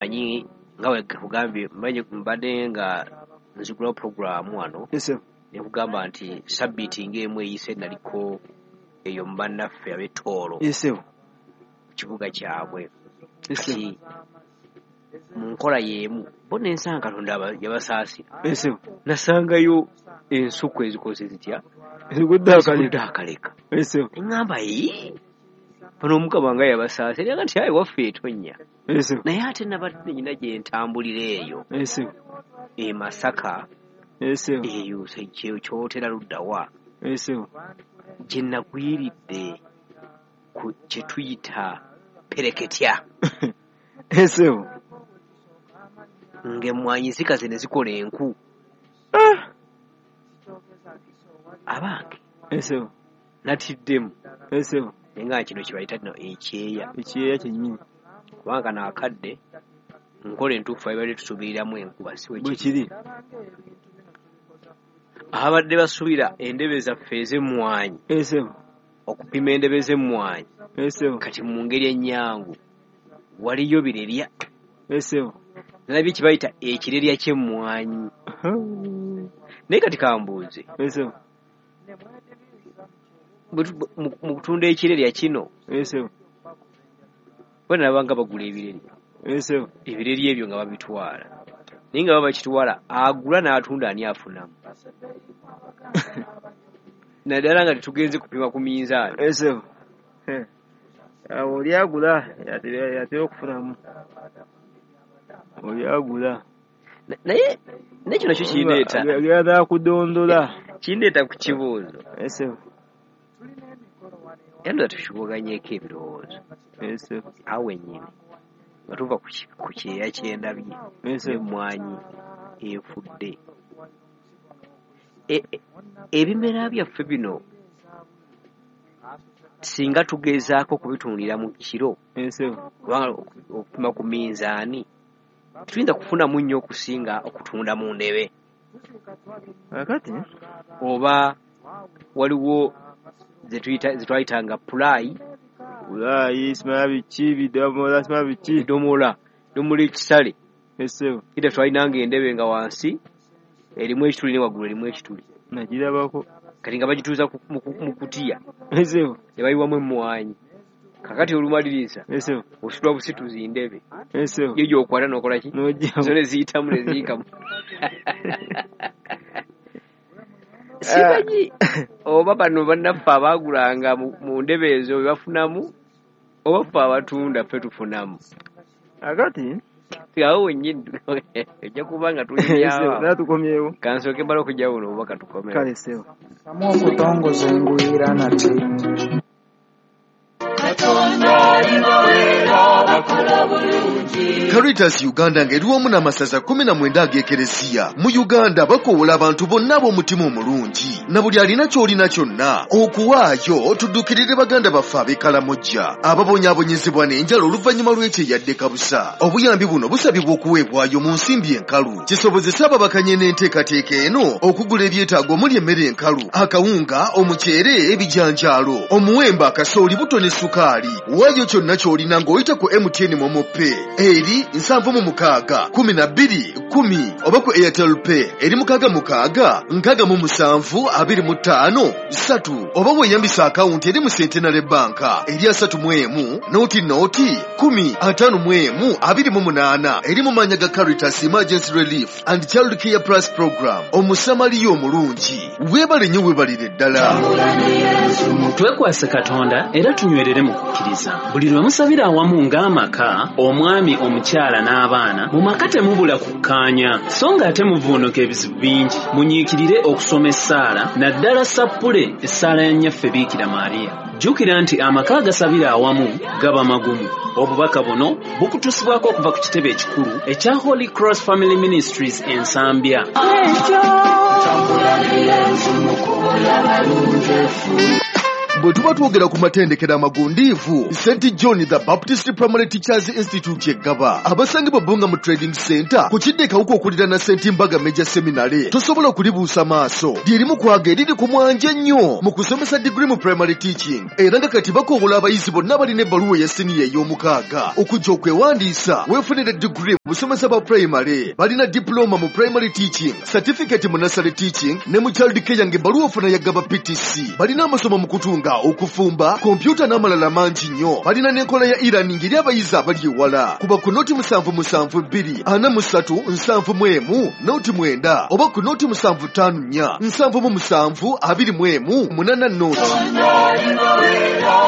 Manyi nga wekugambye mbadde nga nzigulawo puroguramu wano nekugamba nti sabbiiti ng'emu eyise naliko eyo mu bannaffe ab'e Tooro mu kibuga kyabwe. Kati mu nkola y'emu bo nensanga Katonda yabasaasira, nasangayo ensuku ezikoze zitya, ezigudde akaleka. Neŋŋamba yi bano Omukama nga yabasaasira, era nti ayi waffe etonnya. Naye ate nabadde nyina gye ntambulira eyo e Masaka eyo kyotera luddawa gye nagwiridde ku kye tuyita pereketya ng'emmwanyi zikaze ne zikola enku. Abange natiddemu naye nga kino kye bayita nno ekyeya, ekyeya kyennyini, kubanga kano akadde nkola entuufu abadde tusuubiriramu enkuba si bwe kiri. Abadde basuubira endebe zaffe ez'emmwanyi okupima endebe z'emmwanyi kati mu ngeri ennyangu waliyo birerya nalabye kye bayita ekirerya ky'emmwanyi. Naye kati kambuuze, mu kutunda ekirerya kino bwe nalaba nga bagula ebirerya, ebirerya ebyo nga babitwala, naye nga baba bakitwala agula n'atunda ani afunamu? Naddala nga tetugenze kupima ku minzaani. Awo oli agula yatera okufunamu, oli agula. Naye nekyo nakyo kindeeta agenda kudondola, kindeeta ku kibuuzo era ndoza tukibuuganyeeko ebirowoozo awo wennyini nga tuva ku kyeya kyendabye n'emmwanyi efudde. Ebimera byaffe bino singa tugezaako okubitundira mu kiro, kubanga okupima ku minzaani tuyinza kufunamu nnyo okusinga okutunda mu ndebe. Kakati oba waliwo zetwayitanga pulaayi, pulaayi simanya biki bidomola simanya biki bidomola domola ekisale ida twalinanga endebe nga wansi erimu ekituli ne waggulu erimu ekituli, nagirabako. Kati nga bagituuza mu kutiya ne bayiwamu emmwanyi. Kakati olumaliriza ositula busituzi ndebe yo gy'okwata n'okola ki, zo ne ziyitamu ne ziyikamu. Simanyi oba bano bannaffe abaagulanga mu ndebe ezo bye bafunamu oba ffe abatunda ffe tufunamu. Akati awo wennyini ojja kuba nga tulinyawo tukomyewo. Kansooke mbala okujja buno obubaka tukomewo. Kale sewo samu okutongoza engwira nate Caritas Uganda ng'eri wamu n'amasaza 19 ag'Ekereziya mu Uganda bakoowola abantu bonna ab'omutima omulungi na buli alina ky'olina kyonna okuwaayo tuddukirire baganda baffe ab'e Kalamojja ababonyaabonyezebwa n'enjala oluvannyuma lw'ekyeyadde kabusa. Obuyambi buno busabibwa okuweebwayo mu nsimbi enkalu kisobozese ababakanye n'enteekateeka eno okugula ebyetaago omuli emmere enkalu, akawunga, omuceere, ebijanjaalo, omuwemba, akasooli, buto ne sukaali. Waayo kyonna ky'olina ng'oyita ku MTN MoMo Pay eri 76 12 10 oba ku Airtel Pay eri 66 67 25 3 oba weeyambisa akawunti eri mu Centenary Bank eri 31 0 0 10 51 28 eri mu maannya ga Caritas Emergency Relief and Child Care Plus Program. Omusamaliya omulungi weebale nnyo, weebalire ddala. Twekwase Katonda era tunywerere mu kukkiriza. Buli lwe musabira awamu ng'amaka, omwami, omukyala n'abaana, mu maka temubula kukkaanya, so ng'ate muvuunuka ebizibu bingi. Munyiikirire okusoma essaala, naddala sappule essaala ya Nnyaffe Biikira Maria. Jjukira nti amaka agasabira awamu gaba magumu. Obubaka buno bukutusibwako okuva ku kitebe ekikulu ekya Holy Cross Family Ministries e Nsambya. Bwe tuba twogera ku matendekero amagundiivu, St John the Baptist Primary Teachers Institute eggaba abasangibwa Bbunga mu Trading Center ku kidde Kawuka okuliraana St Mbaga Major Seminary, tosobola kulibuusa maaso. Lyerimu kwaga eriri ku mwanje ennyo mu kusomesa degree mu primary teaching, era nga kati bakoowola abayizi bonna abalina ebbaluwa eya siniya ey'omukaaga okujja okwewandiisa weefunire degree mu busomesa bwa primary. Balina diploma mu primary teaching, certificate mu nursery teaching ne mu child care ng'ebbaluwa ofuna ya Gaba PTC. Balina amasomo mu kutunga, okufumba, kompyuta n'amalala mangi nnyo. Balina n'enkola ya e-learning eri abayizi abali ewala. Kuba ku 077 243 71 09 oba ku 0754 77 21 80.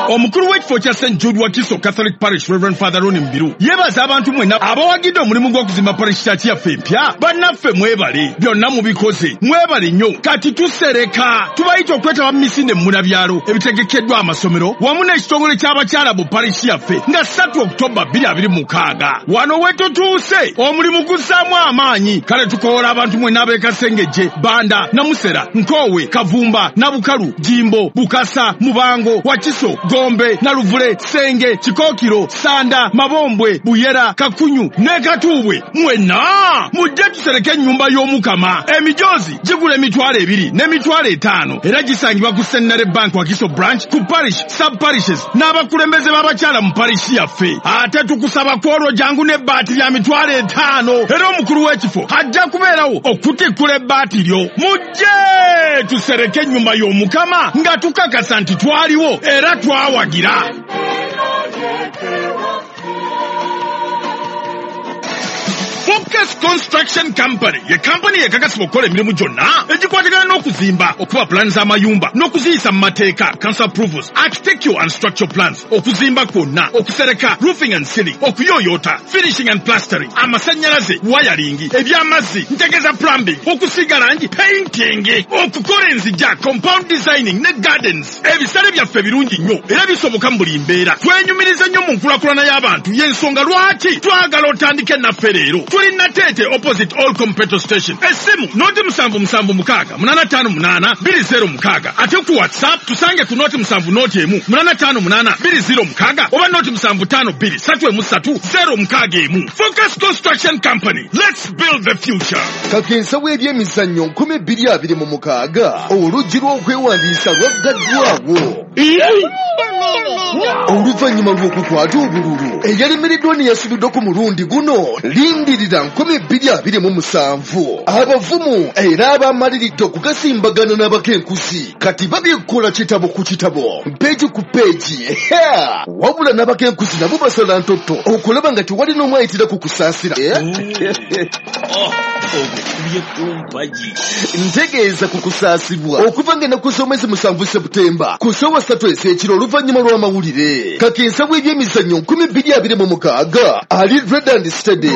Omukulu w'ekifo kya St Jude Wakiso Catholic Parish, Reverend Father Ronnie Mbiru, yeebaza abantu mwenna abawagidde omulimu gw'okuzimba parish church yaffe empya. Bannaffe mwebale, byonna mubikoze, mwebale nnyo. Kati tusereka, tubayita okwetaba mu misinde mmunabyalo ebitegekeddwa amasomero wamu n'ekitongole ky'abakyala mu parish yaffe nga 3 Oktoba 2026. Wano we tutuuse, omulimu guzzaamu amaanyi. Kale tukoola abantu mwenna ab'e Kasengejje, Banda, Namusera, Nkoowe, Kavumba, Nabukalu, Jimbo, Bukasa, Mubango, Wakiso, Gombe, Naluvule, Senge, Kikookiro, Sanda, Mabombwe, Buyera, Kakunyu ne Katuubwe. Mwenna mujje tusereke ennyumba y'Omukama. Emijoozi gigula 20,000 n'emitwalo 5 era gisangibwa ku Centenary Bank Wakiso branch, ku parish, sub parishes n'abakulembeze b'abakyala mu parish yaffe. Ate tukusaba kwolwo jangu n'ebbaati lya 50,000 era omukulu w'ekifo ajja kubeerawo okutikkula ebbaati lyo. Mujje tusereke ennyumba y'Omukama nga tukakasa nti twaliwo era twawagira. Focus Construction Company ye kampani ekakasibwa okukola emirimu gyonna egikwatagana n'okuzimba, okuba pulaani z'amayumba n'okuziyisa mu mateeka, council approvals, architectural and structural plans, okuzimba kwonna, okusereka, roofing and ceiling, okuyooyoota, finishing and plastering, amasannyalaze, wiring, eby'amazzi, ntegeeza plumbing, okusiiga langi, painting, okukola enzija, compound designing ne gardens. Ebisale byaffe birungi nnyo era bisoboka mu buli mbeera. Twenyumiriza nnyo mu nkulaakulana y'abantu, y'ensonga lwaki twagala otandike naffe leero. Tuli Nateete opposite All Petrol Station. Essimu 077 6 858 206. Ate ku WhatsApp tusange ku 070 1 858 206 oba 075 2 3 061. Focus Construction Company. Let's build the future. Kakensa w'ebyemizannyo 2026, oluggi lw'okwewandiisa lwaggaddwawo oluvannyuma lw'okukwata obululu eyalemereddwa ne yasubiddwa ku mulundi guno. Lindirira 2027, abavumu era abamaliridde okugasimbagana n'abakenkuzi kati babikola kitabo ku kitabo, peegi ku peegi. Wabula n'abakenkuzi nabo basala ntotto okulaba nga tewali n'omu ayitira ku kusaasira. Ogukubye kumpagi. Ntegeeza ku kusaasibwa okuva ng'ennaku z'omwezi 7 Seputemba ku ssaawa 3 ez'ekiro oluvannyuma lw'amawulire. Kakensa w'ebyemizannyo 2026 ali ready and steady.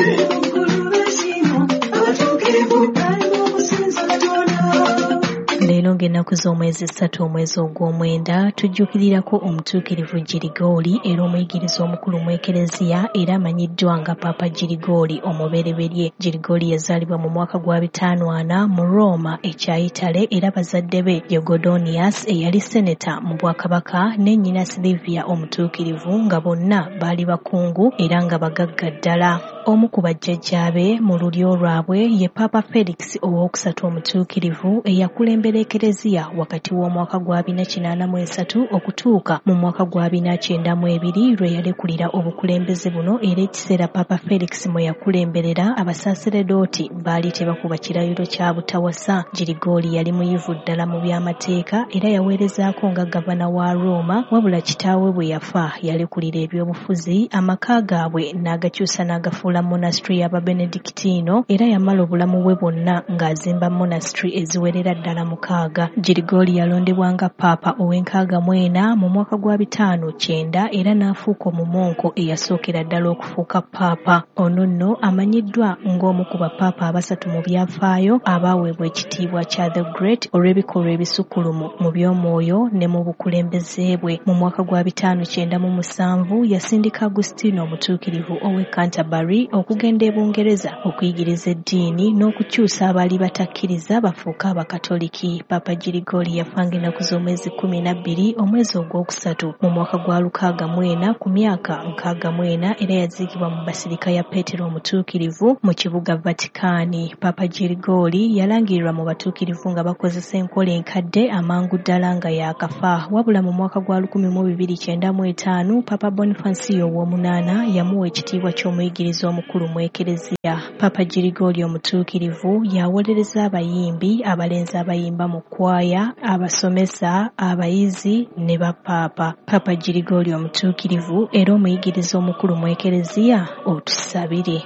Leero ng'ennaku z'omwezi 3 omwezi ogw'omwenda tujjukirirako omutuukirivu Girigooli era omuyigiriza omukulu mu Ekereziya era amanyiddwa nga Paapa Girigooli omubereberye. Girigooli yazaalibwa mu mwaka gwa 54 mu Roma ekya Italy era bazadde be ye Godonius eyali seneta mu bwakabaka ne nnyina Silivia omutuukirivu nga bonna baali bakungu era nga bagagga ddala. Omu ku bajjajjaabe mu lulyo lwabwe ye Paapa Felix owokusatu omutuukirivu eyakulembera Ekereziya wakati w'omwaka gwa 483 okutuuka mu mwaka gwa 492 lwe yalekulira obukulembeze buno. Era ekiseera Paapa Felix mwe yakulemberera abasaseredooti baali tebakuba kirayiro kya butawasa. Girigooli yali muyivu ddala mu by'amateeka era yaweerezaako nga gavana wa Roma, wabula kitaawe bwe yafa yalekulira ebyobufuzi, amaka gaabwe n'agakyusa n'agafuula monastery y'Ababenedictino era yamala obulamu bwe bwonna ng'azimba monastery eziwerera ddala 6. Girigooli yalondebwa nga Paapa ow'e64 mu mwaka gwa 590 era n'afuuka omumonko eyasookera ddala okufuuka Paapa. Ono nno amanyiddwa ng'omu ku bapaapa abasatu mu byafaayo abaaweebwa ekitiibwa kya The Great olw'ebikolwa ebisukkulumu mu by'omwoyo ne mu bukulembeze bwe. Mu mwaka gwa 597 yasindika Agustino omutuukirivu ow'e Canterbury Italy okugenda e Bungereza okuyigiriza eddiini n'okukyusa abaali batakkiriza bafuuke Abakatoliki. Paapa Girigoli yafa ng'ennaku z'omwezi 12 omwezi ogwokusatu mu mwaka gwa 64 ku myaka 64 era yaziikibwa mu Basirika ya Peetero Omutuukirivu mu kibuga Vatikaani. Paapa Girigoli yalangirirwa mu batuukirivu nga bakozesa enkola enkadde amangu ddala nga yaakafa. Wabula mu mwaka gwa 1295 Papa Bonifacio ow'omunaana yamuwa ekitiibwa ky'omuyigiriza omukulu mu Ekereziya. Papa Girigoli Omutuukirivu yawolereza abayimbi, abalenzi abayimba mu kwaya, abasomesa, abayizi ne bapaapa. Papa Girigoli Omutuukirivu era omuyigiriza omukulu mu Ekereziya, otusabire.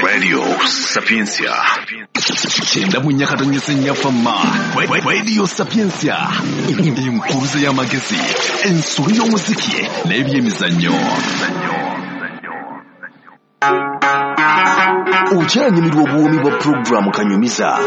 Radio Sapientia. 94.4 Fama. Radio Sapientia. Inkuruze y'amagezi, ensolo y'omuziki n'ebyemizannyo. Okyanyumirwa obuwoomi bwa pulogulaamu Kanyumiza.